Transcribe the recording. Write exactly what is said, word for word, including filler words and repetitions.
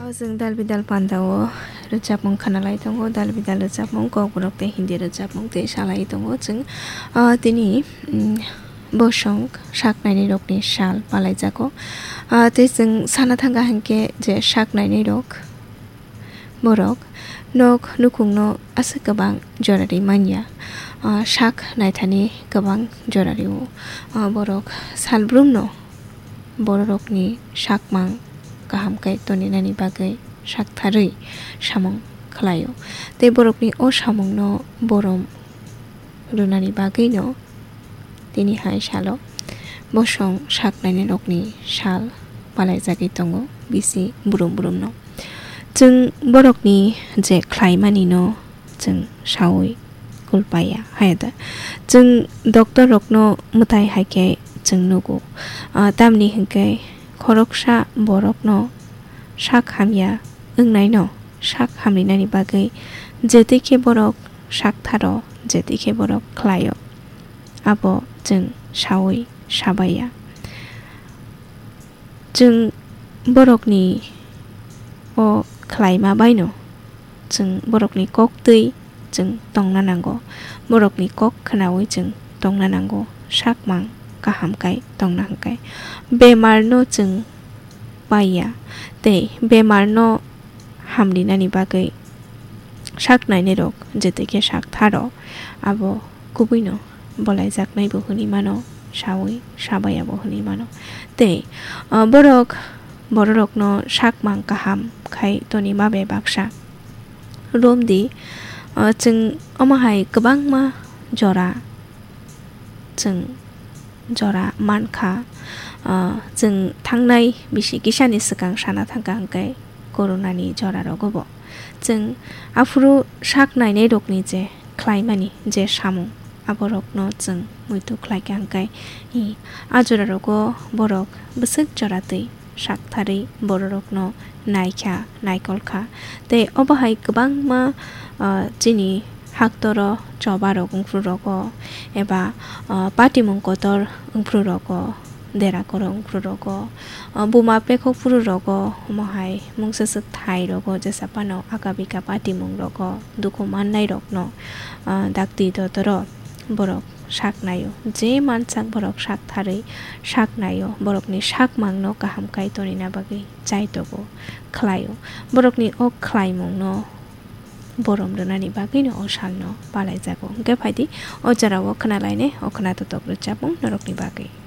O chwng dal bidal panda o rwchapmung khwnalai tongo, dal bidal rwchapmung, Kokborok tei Hindi rwchapmung tei salai tongo chwng. Ah, tini, mm, bosong sak nainai rokni sal palaijago. Ah, tei chwng sana thangkha hinkhe je sak nainai rok, borok nok nukhungno aswk kwbang jora ri manya. Ah, sak naithani kwbang jora rio. Ah, borok salbrumno bororokni sakmang kaham khe toninani bagwi saktharwi samung khlaio. Tei borokni o samungno borom rwnani bagwino tini hai salo bosong sak nainai rokni sal palaijagwi tongo bisi brum brumno. Chwng borokni je khlaimanino chwng saui kulpaiya, haya da? Chwng doctor rokno mwtai hai khe chwng nugo. Ah, tamni hinkhe khoroksa borokno sak hamya wngnaino sak hamrinani bagwi je twi khe borok sak tharo, je twi khe borok khlaio, abo chwng saui sabaiya. Chwng borokni o khlaima baino chwng borokni kok twi chwng tongna nango, borokni kok khnaui chwng tongna nango, sakmang kaham kai tongna hwnkhe. Bemarno chwng paiya tei bemarno hamrinani bagwi sak nainai rok je twi khe sak tharo, abo kubuino bolaijaknai bo hwnwi mano, saui sabaya bo hwnwi mano. Tei, ah, borok, bororokno sakmang kaham khai tonima bai baksa romdi, ah, chwng omo hai kwbangma jora chwng jora mankha. Ah, chwng thangnai bisi kisani swkang sana thangkha hwnkhe coronani jora rogo bo. Chwng aphuru sak nainai rokni je khlaimani je samung, aborokno chwng muitu khlaikha hwnkhe, i, a jora rogo borok bwswk jora twi saktharwi bororokno naikha, naikolkha. Tei obo hai kwbangma, ah, chini haktoro choba rok wngphru rogo eba, ah, patimung kotor wngphru rogo, dera koro wngphru rogo, ah, buma pekhok phuru rogo, omo hai mungsa swk thai rogo, jesa phano aka bika patimung rogo, dukhu mannai rokno, ah, dakti dotoro borok sak naio. Je mansak borok sak tharwi sak naio, borokni sakmangno kaham kai tonina bagwi chaitogo, khlaio. Borokni o khlaimungno borom rwnani bagwino o salno palaijago. Hwnkhe phaidi o jorao khwnalainai o khwnatok rwchapmung norokni bagwi.